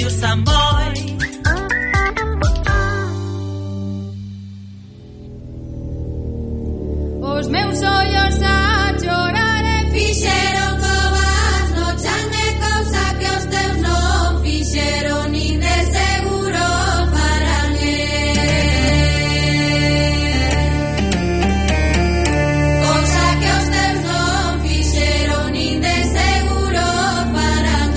usan moi. Os meus ollos a chorar fixeron covas no chan de cousa que os teus non fixeron nin de seguro farán cousa que os teus non fixeron nin de seguro farán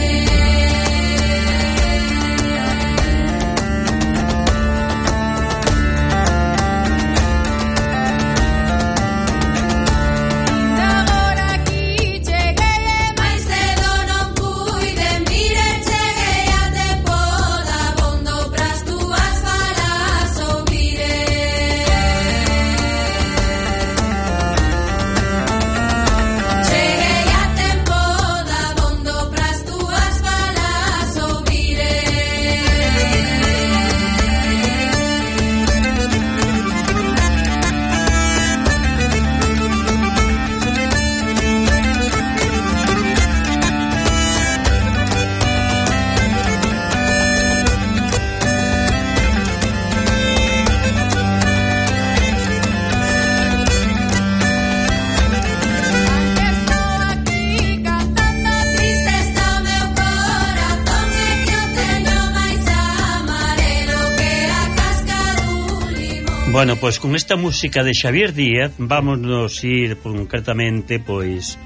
Bueno, pois con esta música de Xavier Díaz vámonos ir concretamente pois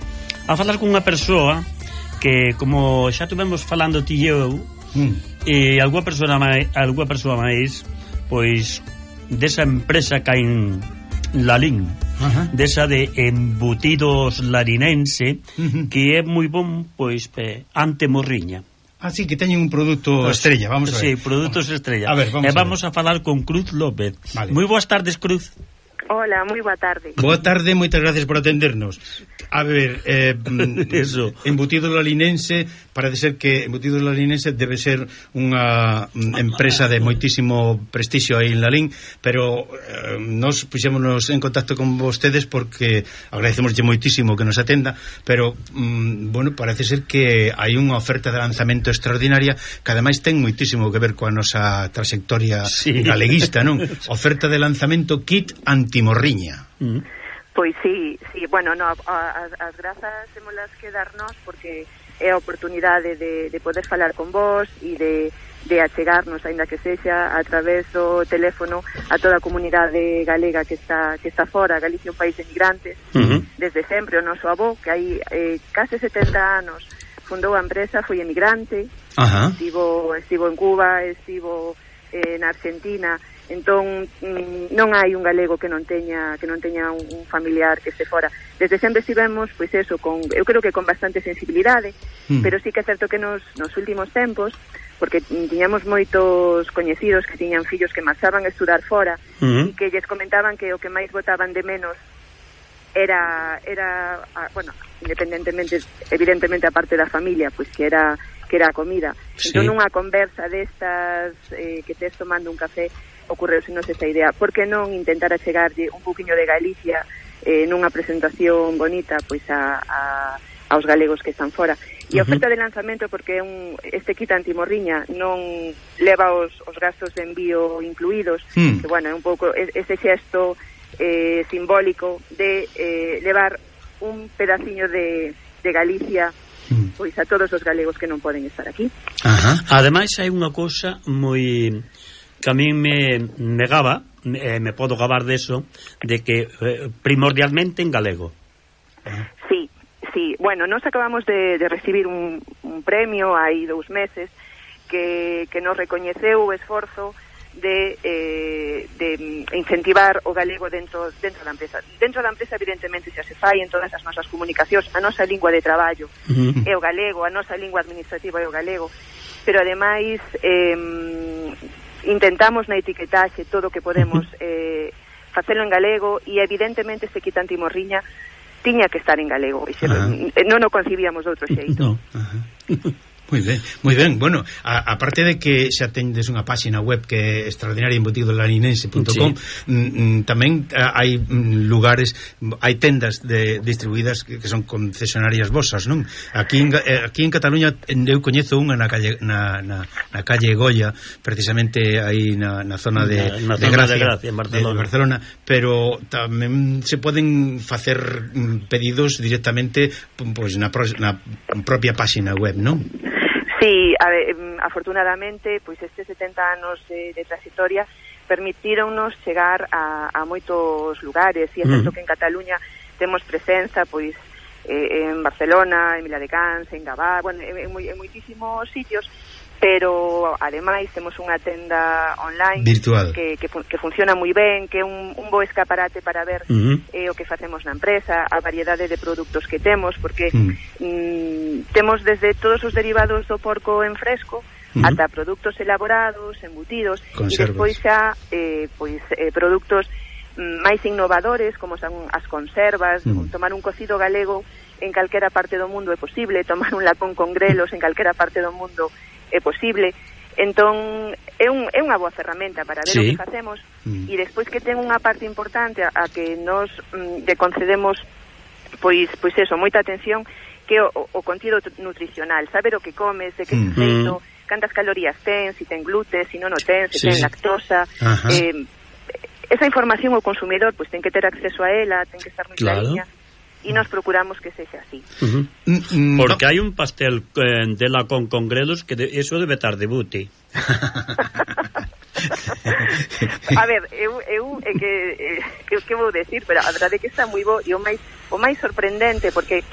a falar con unha persoa que, como xa tuvemos falando ti e eu, e algunha persoa máis pois desa empresa que hai en Lalín, desa de embutidos larinense, que é moi bon pois ante morriña. Así que teñen un produto estrella, vamos a ver. Sí, produtos estrella. A ver, vamos a falar con Cruz López. Vale. Moi boas tardes, Cruz. Hola, moi boa tarde. Boa tarde, moitas gracias por atendernos. A ver, eso. Embutido Lalinense, parece ser que Embutido Lalinense debe ser unha empresa de moitísimo prestixio aí en Lalín, pero nos puxémonos en contacto con vostedes porque agradecemoslle moitísimo que nos atenda, pero bueno, parece ser que hai unha oferta de lanzamento extraordinaria que ademais ten moitísimo que ver coa nosa trayectoria galeguista, non? Oferta de lanzamento kit antimorriña. Pois sí, bueno, no, as grazas témolas que darnos porque é a oportunidade de poder falar con vos e de achegarnos, aínda que sexa a través do teléfono, a toda a comunidade galega que está fora. Galicia é un país de migrantes, desde sempre. O noso avó, que hai case 70 anos, fundou a empresa, foi emigrante, estivo en Cuba, estivo na Argentina. Entón non hai un galego que non teña un familiar que este fora. Desde sempre estivemos, pois eso, eu creo que con bastante sensibilidade, pero sí que é certo que nos últimos tempos, porque tiñamos moitos coñecidos que tiñan fillos que marchaban a estudar fora e que lles comentaban que o que máis botaban de menos era bueno, independentemente, evidentemente a parte da familia, pois que era a comida. Entón unha conversa destas que tes tomando un café ocorreusenos esta idea, por que non intentar achegarlle un pouquiño de Galicia nunha presentación bonita pois aos galegos que están fora. E a oferta de lanzamento, porque este kit antimorriña non leva os gastos de envío incluídos, que bueno, é un pouco ese xesto simbólico de levar un pedaciño de Galicia pois a todos os galegos que non poden estar aquí. Ademais hai unha cousa moi que a mí me gaba, me podo gabar deso, de que primordialmente en galego. Sí. Bueno, nos acabamos de recibir un premio hai 2 meses que nos recoñeceu o esforzo de incentivar o galego dentro da empresa. Dentro da empresa, evidentemente, xa se fai en todas as nosas comunicacións. A nosa lingua de traballo é o galego, a nosa lingua administrativa é o galego, pero ademais intentamos na etiquetaxe todo o que podemos facelo en galego, e evidentemente este kit antimorriña tiña que estar en galego, non o concibíamos de outro xeito. Moi ben. Bueno, aparte de que xa tendes unha páxina web que é extraordinaria, embutidoslaninense.com, tamén hai lugares, hai tendas distribuídas que son concesionarias vosas, non? Aquí en Cataluña eu coñezo unha na calle Goya, precisamente aí na zona de Gracia, en Barcelona, pero tamén se poden facer pedidos directamente pois na propia páxina web, non? Sí, afortunadamente, pois estes 70 anos de trayectoria permitíronnos chegar a moitos lugares, e é certo que en Cataluña temos presenza, pois, en Barcelona, en Viladecans, en Gavá, bueno, en moitísimos sitios, pero ademais temos unha tenda online virtual que funciona moi ben, que é un bo escaparate para ver o que facemos na empresa, a variedade de produtos que temos, porque temos desde todos os derivados do porco en fresco ata produtos elaborados, embutidos, e despois xa produtos máis innovadores, como son as conservas. Tomar un cocido galego en calquera parte do mundo é posible, tomar un lacón con grelos en calquera parte do mundo é posible. Entón é unha boa ferramenta para ver o que facemos, e despois que ten unha parte importante a que nos lle concedemos pois eso, moita atención, que o contido nutricional, saber o que comes, de que feito, cantas calorías ten, si ten gluten, si non o ten, se ten lactosa. Esa información o consumidor pois ten que ter acceso a ela, ten que estar moi clariña, e nos procuramos que sexa así. Porque hai un pastel de lacón con grelos que eso debe estar de buti. A ver, que vou decir, pero a verdade é que está moi bo, e o máis sorprendente, porque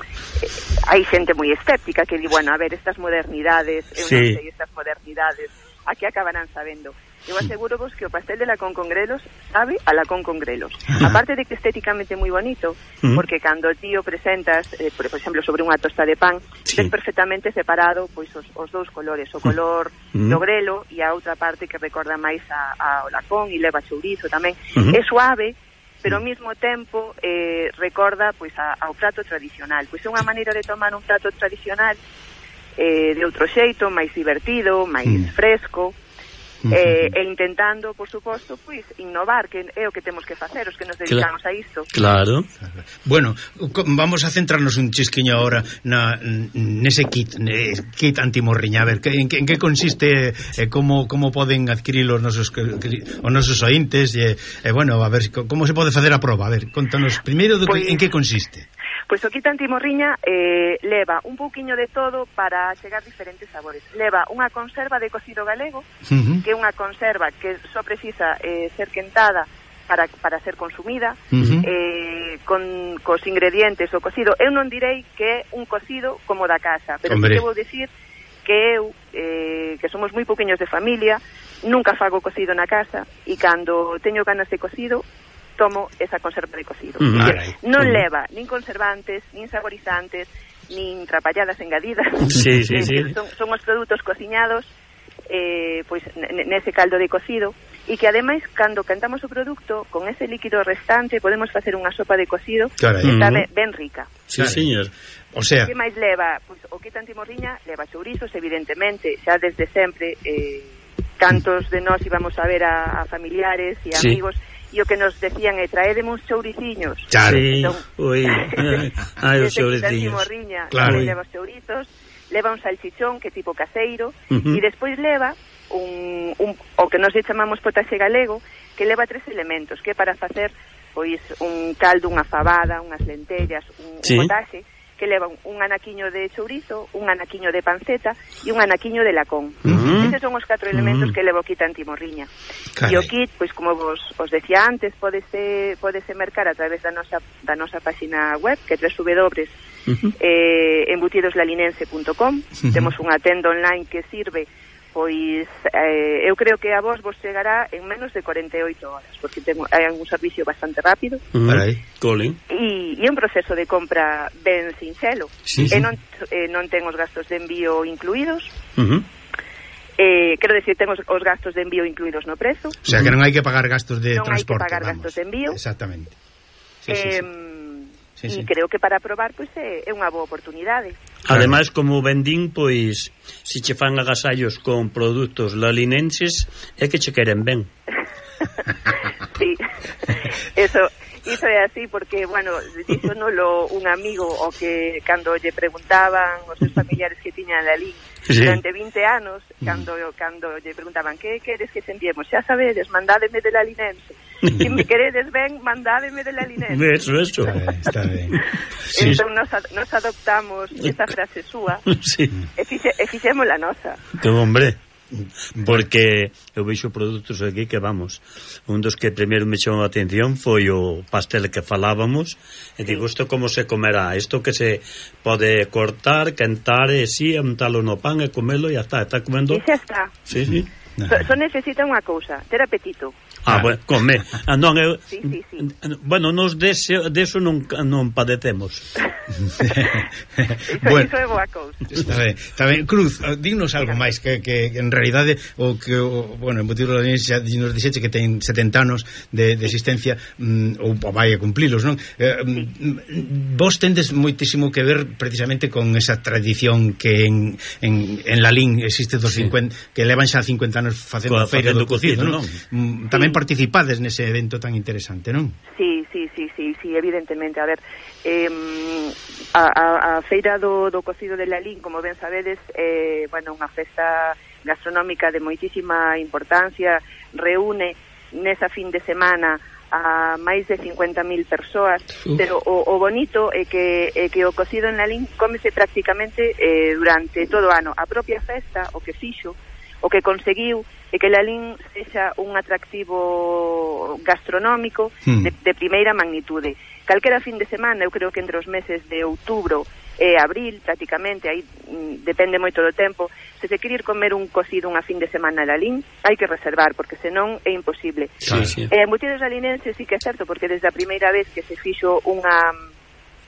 hai xente moi escéptica que di, bueno, a ver, estas modernidades, eu non sei estas modernidades, a que acabarán sabendo. Eu aseguro vos que o pastel de lacón con grelos sabe a lacón con grelos. Aparte de que estéticamente moi bonito, porque cando ti o presentas, por exemplo, sobre unha tosta de pan, ves perfectamente separado pois os dous colores, o color do grelo e a outra parte que recorda máis ao lacón, e leva chourizo tamén. É suave, pero ao mesmo tempo recorda pois ao prato tradicional. Pois é unha maneira de tomar un prato tradicional de outro xeito, máis divertido, máis fresco, e intentando, por suposto, pois innovar, que é o que temos que facer os que nos dedicamos a isto. Claro. Bueno, vamos a centrarnos un chisquiño ahora nese kit antimorriña. A ver, en que consiste, como poden adquirir os nosos ointes, bueno, a ver, como se pode facer a proba. A ver, contanos primeiro en que consiste. Pois o kit antimorriña leva un pouquiño de todo para chegar diferentes sabores. Leva unha conserva de cocido galego, que é unha conserva que só precisa ser quentada para ser consumida, cos ingredientes o cocido. Eu non direi que é un cocido como da casa, pero sí que vou dicir que eu, que somos moi pouquiños de familia, nunca fago cocido na casa, e cando teño ganas de cocido tomo esa conserva de cocido. Non leva nin conservantes, nin saborizantes, nin trapalladas engadidas. Son os produtos cociñados pois nese caldo de cocido, e que ademais cando cantamos o produto con ese líquido restante podemos facer unha sopa de cocido que está ben rica. Sí, señor. O sea, que máis leva? Pois o kit antimorriña leva chourizos, evidentemente, xa desde sempre cantos de nós íbamos a ver a familiares e amigos, e o que nos decían é traédeme uns chouriciños. Entón, os chouriciños. Leva os chourizos, leva un salchichón que é tipo caseiro, e despois leva o que nos chamamos potaxe galego, que leva 3 elementos, que é para facer pois un caldo, unha fabada, unhas lentellas, un potaxe, que leva un anaquiño de chourizo, un anaquiño de panceta e un anaquiño de lacón. Eses son os 4 elementos que leva o kit antimorriña. E o kit, pois como os decía antes, podese mercar a través da nosa página web, que é www.embutidoslaninense.com. Temos unha tenda online que sirve, pois eu creo que a vos chegará en menos de 48 horas, porque hai un servicio bastante rápido, e é un proceso de compra ben sinxelo, e non ten os gastos de envío incluídos. Quero decir, ten os gastos de envío incluídos no prezo. O sea, que non hai que pagar gastos de transporte. Non hai que pagar gastos de envío. Exactamente. E creo que para probar pois é unha boa oportunidade. Ademais, como vendín, pois se che fan agasallos con produtos lalinenses é que che queren ben. Sí, eso é así porque, bueno, díxonolo un amigo o que cando lle preguntaban os seus familiares que tiñan Lalín durante 20 anos, cando lle preguntaban que queres que te enviemos, xa sabedes, mandádeme de Lalinense. Se me queredes ben, mandádeme de Lalinense. Eso. Está ben. Entón nos adoptamos esa frase súa e fixemos la nosa. Que hombre, porque eu veixo produtos aquí que vamos, un dos que primeiro me chamou a atención foi o pastel que falábamos e digo, isto como se comerá, isto que se pode cortar, quentar e si, untalo no pan e comelo e está comendo. E xa está. Sí. Só necesita unha cousa, ter apetito. Bueno, come. Non, eu, sí. Bueno, nos deso non padecemos. Bueno, iso é boa cousa. Está ben. Cruz, dignos algo máis que en realidade o que bueno, en Botidos Lalinenses xa nos dixeche que ten 70 anos de existencia, ou vai a cumplilos, non? Vos tendes moitísimo que ver precisamente con esa tradición que en Lalín existe dos 50, que levan xa 50 anos facendo a feira do cocido, non? Tamén participades nese evento tan interesante, non? Sí, evidentemente. A ver, a feira do cocido de Lalín, como ben sabedes, bueno, unha festa gastronómica de moitísima importancia, reúne nesa fin de semana a máis de 50.000 persoas, pero o bonito é que o cocido en Lalín cómese prácticamente durante todo o ano. A propia festa, o que fixo, o que conseguiu é que Lalín sexa un atractivo gastronómico de primeira magnitude. Calquera fin de semana, eu creo que entre os meses de outubro e abril, prácticamente, aí depende moito do tempo, se se quere ir comer un cocido unha fin de semana a Lalín, hai que reservar, porque senón é imposible. Sí. En Botidos Lalinenses sí que é certo, porque desde a primeira vez que se fixo unha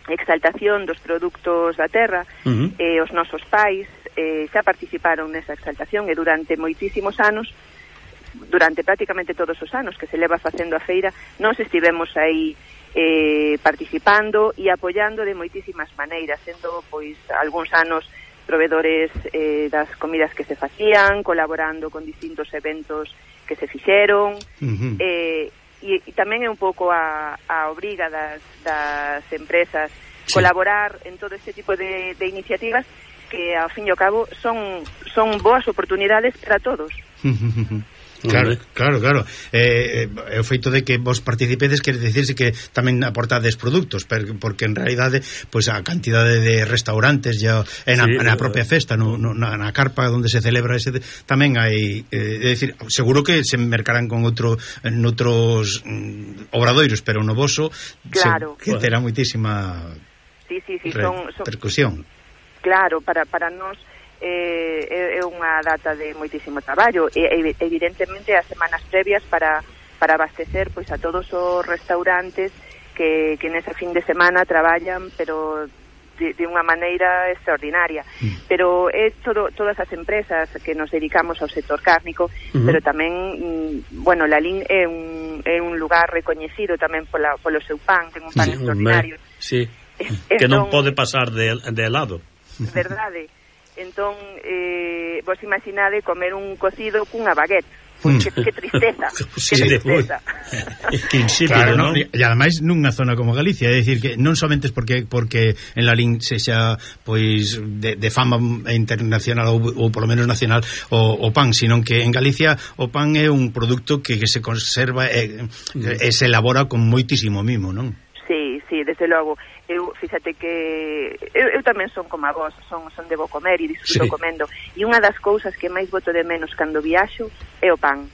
exaltación dos produtos da terra, os nosos pais xa participaron nesa exaltación e durante moitísimos anos, durante prácticamente todos os anos que se leva facendo a feira, nós estivemos aí participando e apoiando de moitísimas maneiras, sendo pois algúns anos provedores das comidas que se facían, colaborando con distintos eventos que se fixeron, e tamén é un pouco a obriga das empresas colaborar en todo este tipo de iniciativas que, ao fin e ao cabo, son boas oportunidades para todos. Claro. O feito de que vos participedes quere dicirse que tamén aportades produtos, porque en realidade pois a cantidade de restaurantes ya na propia festa, na carpa onde se celebra ese, tamén hai, é dicir, seguro que se mercarán con noutros obradoiros, pero no voso que terá moitísima repercusión. Claro, para nós é unha data de moitísimo traballo e evidentemente as semanas previas para abastecer pois a todos os restaurantes que nesa fin de semana traballan, pero de unha maneira extraordinaria. Pero é todas as empresas que nos dedicamos ao sector cárnico, pero tamén, bueno, Lalín é un lugar recoñecido tamén polo seu pan, ten un pan extraordinario. Sí, que non pode pasar de lado. Verdade. Entón, vos imaginade comer un cocido cunha baguette. Pois que tristeza. Que insípido, claro, non? E ademais nunha zona como Galicia, é dicir que non somente porque en Lalín sexa pois de fama internacional ou polo menos nacional o pan, sino que en Galicia o pan é un produto que se conserva e se elabora con moitísimo mimo, non? Sí, desde logo. Fíxate que eu tamén son como a vos, son de bo comer e disfruto comendo, e unha das cousas que máis boto de menos cando viaxo é o pan.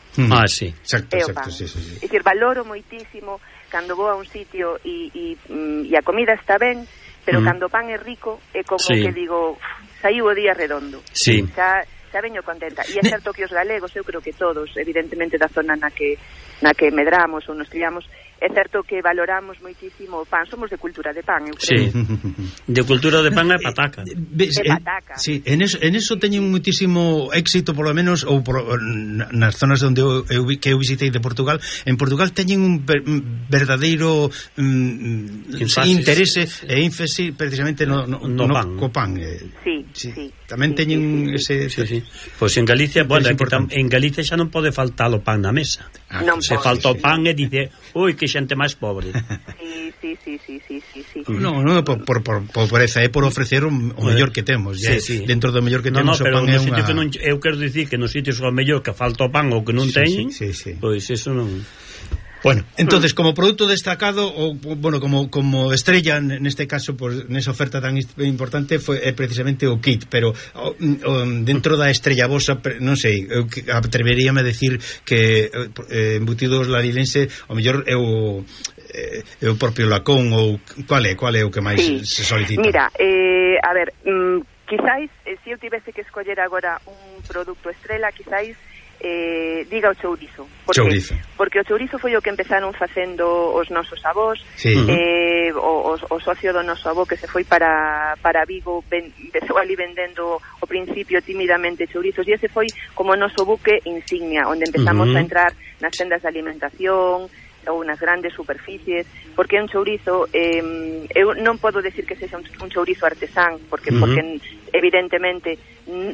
Sí, exacto, sí. É dicir, valoro moitísimo cando vou a un sitio e a comida está ben, pero cando o pan é rico é como que digo, saiu o día redondo. Xa veño contenta. E é certo que os galegos, eu creo que todos, evidentemente da zona na que medramos ou nos criamos, É certo que valoramos moitísimo o pan, somos de cultura de pan, eu Sí, creo. de cultura de pan é pataca. Pataca. Sí, en eso teñen muitísimo éxito, polo menos, ou nas zonas onde eu visitei de Portugal. En Portugal teñen un verdadeiro interese e ínfese precisamente no pan. Co pan. Sí. Tamén teñen ese... Sí. Pois en Galicia, bueno, en Galicia xa non pode faltar o pan na mesa. Se falta o pan e dice, ui, que xente máis pobre. Sí. No, por pobreza, é por ofrecer o mellor que temos. Dentro do mellor que temos, o pan é unha... Eu quero dicir que nos sitios o mellor que falta o pan ou que non teñen, pois eso non... Bueno, entonces, como produto destacado, ou, bueno, como estrella neste caso, pues, nesa oferta tan importante, é precisamente o kit, pero dentro da estrella vosa, non sei, eu atreveríame a decir que embutidos larilense, o mellor é o propio lacón, ou qual é o que máis se solicita? Mira, a ver, quizáis, se eu tivese que escoller agora un produto estrela, quizáis diga o chourizo. Porque o chourizo foi o que empezaron facendo os nosos avós, o socio do noso avó que se foi para Vigo, empezou ali vendendo ao principio timidamente chourizos, e ese foi como o noso buque insignia, onde empezamos a entrar nas tendas de alimentación ou nas grandes superficies, porque é un chourizo, eu non podo decir que sexa un chourizo artesán, porque evidentemente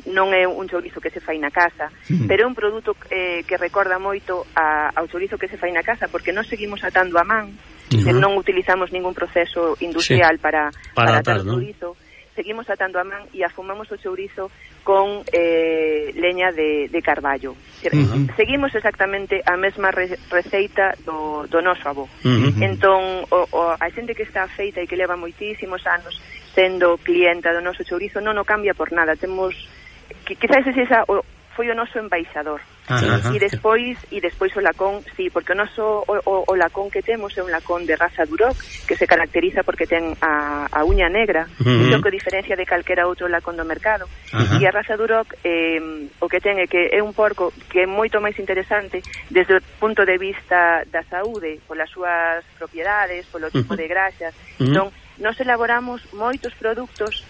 non é un chourizo que se fai na casa, pero é un produto que recorda moito ao chourizo que se fai na casa, porque non seguimos atando a man, non utilizamos ningún proceso industrial para atar o chourizo, seguimos atando a man e afumamos o chourizo con leña de carballo. Seguimos exactamente a mesma receita do noso avó. Entón, a xente que está feita e que leva moitísimos anos sendo clienta do noso chourizo non o cambia por nada. Temos, quizás foi o noso embaixador. E despois o lacón, sí, porque o noso o lacón que temos é un lacón de raza Duroc, que se caracteriza porque ten a uña negra, iso que diferencia de calquera outro lacón do mercado. E a raza Duroc o que ten é que é un porco que é moito máis interesante desde o punto de vista da saúde, polas súas propiedades, polo tipo de graxas. Entón, nos elaboramos moitos produtos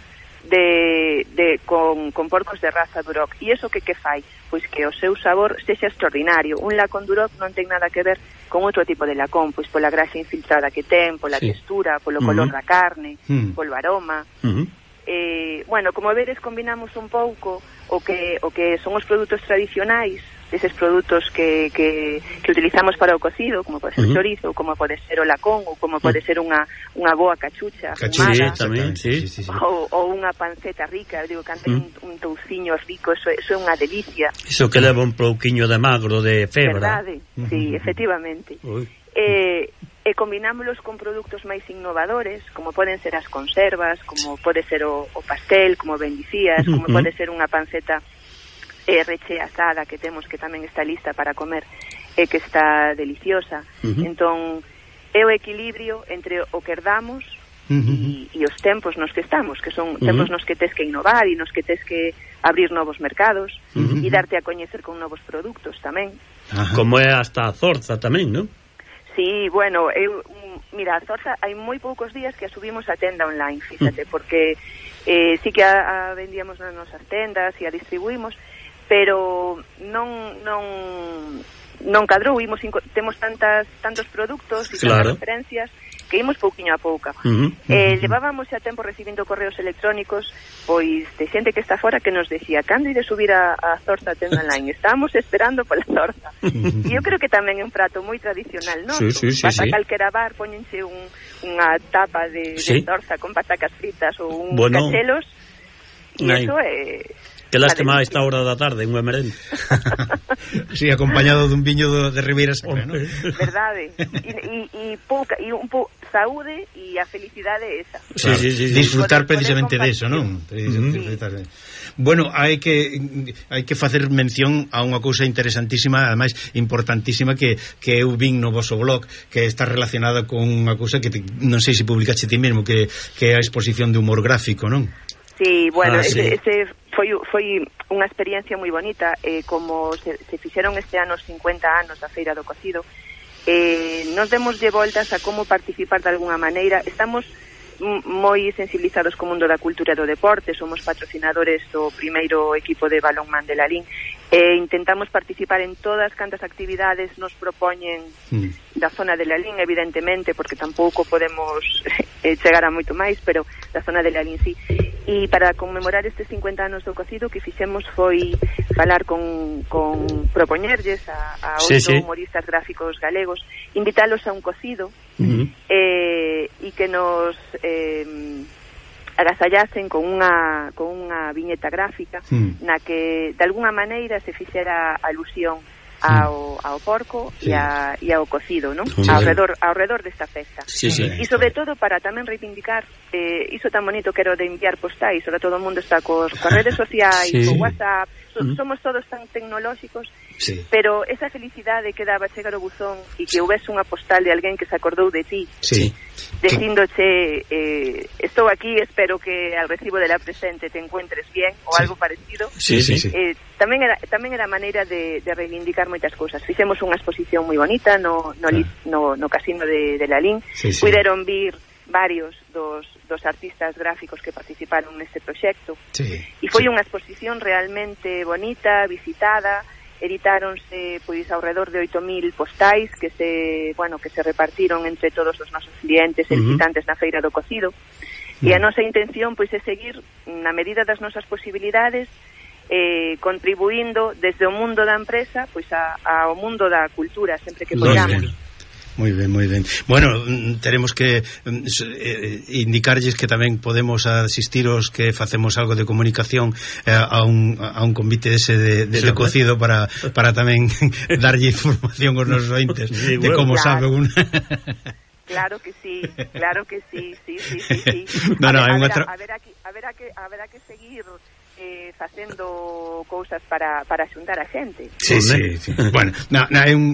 con porcos de raza Duroc, e iso que fai? Pois que o seu sabor sexa extraordinario. Un lacón Duroc non ten nada que ver con outro tipo de lacón, pois pola graxa infiltrada que ten, pola textura, polo color da carne, polo aroma. Bueno, como veres, combinamos un pouco o que son os produtos tradicionais, eses produtos que utilizamos para o cocido, como pode ser o chorizo, como pode ser o lacón, ou como pode ser unha boa cachucha fumada, ou unha panceta rica. Eu digo, cando un touciño rico, eso é unha delicia. Iso que leva un pouquiño de magro, de febra. Verdade, sí, efectivamente. E combinámolos con produtos máis innovadores, como poden ser as conservas, como pode ser o pastel, como ben dicías, como pode ser unha panceta rechea asada que temos, que tamén está lista para comer e que está deliciosa. Entón, é o equilibrio entre o que herdamos e os tempos nos que estamos, que son tempos nos que tes que innovar e nos que tes que abrir novos mercados e darte a coñecer con novos produtos tamén. Como é hasta a zorza tamén, non? Sí, bueno, mira, a zorza hai moi poucos días que a subimos a tenda online, fíxate, porque sí que a vendíamos nas nosas tendas e a distribuímos, pero non cadrou, temos tantos produtos e tantas referencias que imos pouquiño a pouca. Levábamos xa tempo recibindo correos electrónicos pois de xente que está fora que nos decía, cando ide subir a zorza a tenda online? Estábamos esperando pola zorza. E eu creo que tamén é un prato moi tradicional, non? Vas a calquera bar, poñense unha tapa de zorza con patacas fritas ou uns cachelos, e iso é... Que lástima a esta hora da tarde, unha merenda. Sí, acompañado dun viño de Ribeira Sacra, non? Verdade. E saúde e a felicidade esa. Sí. Disfrutar precisamente de eso, non? Bueno, hai que facer mención a unha cousa interesantísima, ademais importantísima, que eu vin no vosso blog, que está relacionada con unha cousa que non sei se publicaste ti mesmo, que é a exposición de humor gráfico, non? Sí, bueno, ese foi unha experiencia moi bonita, como se fixeron este ano os 50 anos da Feira do Cocido, nos demoslle voltas a como participar de alguna maneira. Estamos moi sensibilizados co mundo da cultura e do deporte, somos patrocinadores do primeiro equipo de balonmán de Lalín, e intentamos participar en todas cantas actividades nos propoñen da zona de Lalín, evidentemente, porque tampouco podemos chegar a moito máis, pero da zona de Lalín sí. E para conmemorar estes 50 anos do cocido, que fixemos foi falar con propoñerlles a 8 humoristas gráficos galegos, invitalos a un cocido e que nos agasallasen con unha viñeta gráfica na que de alguna maneira se fixera alusión ao porco e ao cocido, non? Ao redor desta festa. E sobre todo para tamén reivindicar iso tan bonito que era de enviar postais. Ahora todo o mundo está coas redes sociais, co WhatsApp, somos todos tan tecnolóxicos, pero esa felicidade que daba chegar o buzón e que houvese unha postal de alguén que se acordou de ti, dicíndoche estou aquí, espero que al recibo de la presente te encuentres bien, ou algo parecido. Tamén era maneira de reivindicar moitas cousas. Fixemos unha exposición moi bonita no casino de Lalín. Puideron vir varios dos artistas gráficos que participaron neste proxecto, e foi unha exposición realmente bonita, visitada. Editáronse pois ao redor de 8.000 postais que se repartiron entre todos os nosos clientes e visitantes na Feira do Cocido, e a nosa intención pois é seguir na medida das nosas posibilidades contribuindo desde o mundo da empresa pois ao mundo da cultura sempre que podamos. Moi ben. Bueno, teremos que indicarlles que tamén podemos asistir os que facemos algo de comunicación a un convite ese de cocido para tamén darlle información aos nosos ointes de como sabe un... Claro que sí. Haberá que seguir facendo cousas para xuntar a xente. Sí. Bueno,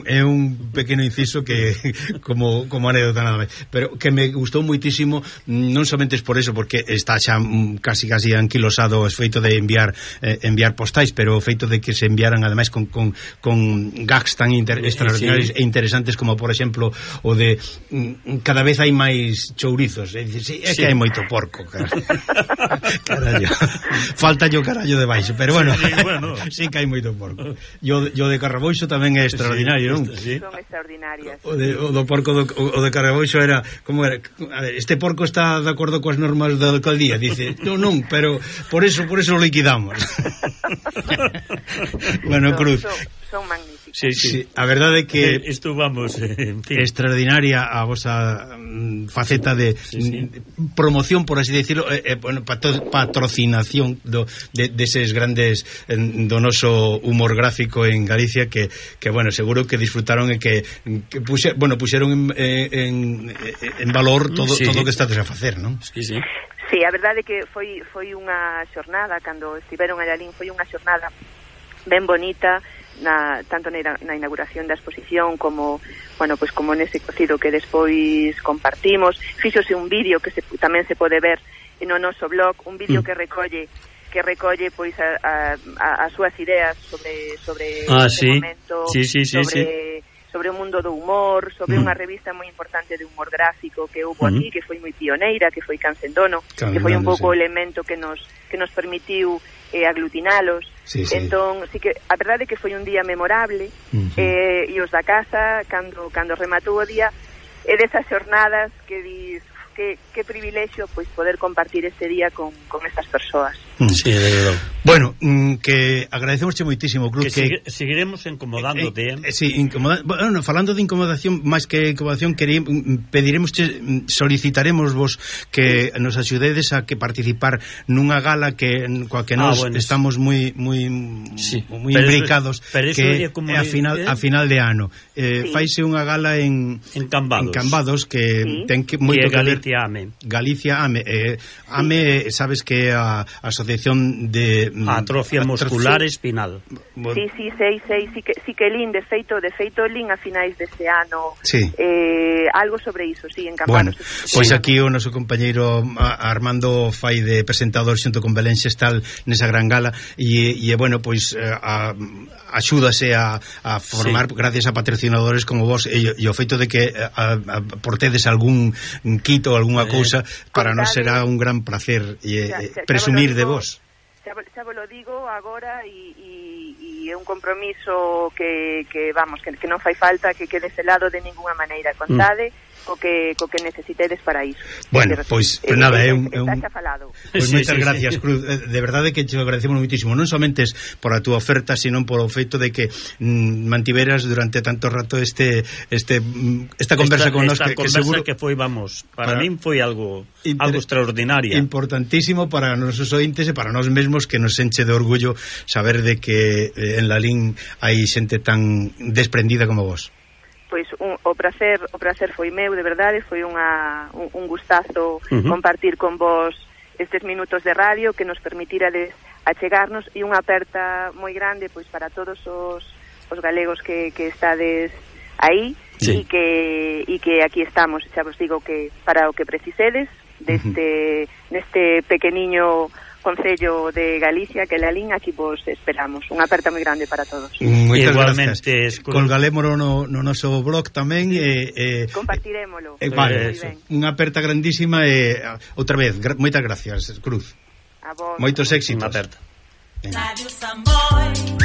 é un pequeno inciso que como anécdota nada máis, pero que me gustou moitísimo, non somente por eso, porque está xa casi anquilosado o feito de enviar postais, pero o feito de que se enviaran ademais con gags tan extraordinarios e interesantes como por exemplo o de cada vez hai máis chourizos, é que hai moito porco, carallo. Falta yo carallo de baixo, pero bueno, sí que hai moito porco. Yo de Carraboixo tamén é extraordinario, non? Son extraordinarias. O do porco o de Carraboixo era, como era? A ver, este porco está de acordo coas normas da alcaldía, dice, non, pero por eso lo liquidamos. Bueno, Cruz. Son magníficos. Sí, a verdade é que isto vamos, en fin, extraordinaria a vosa faceta de promoción, por así decirlo, patrocinación deses grandes do noso humor gráfico en Galicia que bueno, seguro que disfrutaron e que puxeron en valor todo o que estades a facer, non? Sí, a verdade é que foi unha xornada, cando estiveron a Lalín, foi unha xornada ben bonita, tanto na inauguración da exposición como nese cocido que despois compartimos. Fíxose un vídeo que tamén se pode ver no noso blog, un vídeo que recolle pois as súas ideas sobre ese momento, sobre o mundo do humor, sobre unha revista moi importante de humor gráfico que houve aquí, que foi moi pioneira, que foi Cancendono, que foi un pouco o elemento que nos permitiu aglutinalos. Entón, sí que a verdade é que foi un día memorable, e os da casa cando rematou o día é desas xornadas que dis que privilexio pois poder compartir este día con estas persoas. Sí, bueno, que agradecemosche moitísimo, Cruz, que seguiremos incomodándote. Bueno, falando de incomodación, máis que incomodación, solicitaremos vos que nos axudedes a que participar nunha gala coa que nós estamos moi imbricados, que é a final de ano. Faise unha gala en Cambados que ten que moito que ver. Galicia Ame. Galicia Ame. Ame, sabes que a Asociación Asociación de Atrofia Muscular Espinal. Sí, sí que lin, de feito lin a finais deste ano. Sí. Algo sobre iso, sí, en Campanos. Bueno, pois aquí o noso compañeiro Armando fai de presentador xunto con Belén Xestal nesa gran gala e bueno, pois axúdase a formar gracias a patrocinadores como vos e o feito de que portedes algún kit ou algunha cousa para nós será un gran placer presumir de vos. Xa vos lo digo agora e é un compromiso que non fai falta que quede celado de ninguna maneira. Contade co que necesitedes para iso. Bueno, pois nada, é un pois moitas gracias, Cruz. De verdade que te agradecemos muitísimo, non somente por a túa oferta, sino por o feito de que mantiveras durante tanto rato esta conversa con nós que seguro que foi, vamos, para min foi algo extraordinario. Importantísimo para os nosos ointes e para nós mesmos, que nos enche de orgullo saber de que en Lalín hai xente tan desprendida como vos. Pois o prazer foi meu, de verdade, foi un gustazo compartir con vos estes minutos de radio que nos permitirades achegarnos e unha aperta moi grande pois para todos os galegos que estades aí e que aquí estamos, xa vos digo que para o que precisedes neste pequeniño Concello de Galicia, que Lalín, aquí vos esperamos. Unha aperta moi grande para todos. Moitas gracias. Colgalémolo no noso blog tamén. Compartirémolo. Vale, unha aperta grandísima e outra vez, moitas gracias, Cruz. A vos. Moitos éxitos. Unha aperta. Radio Samboy.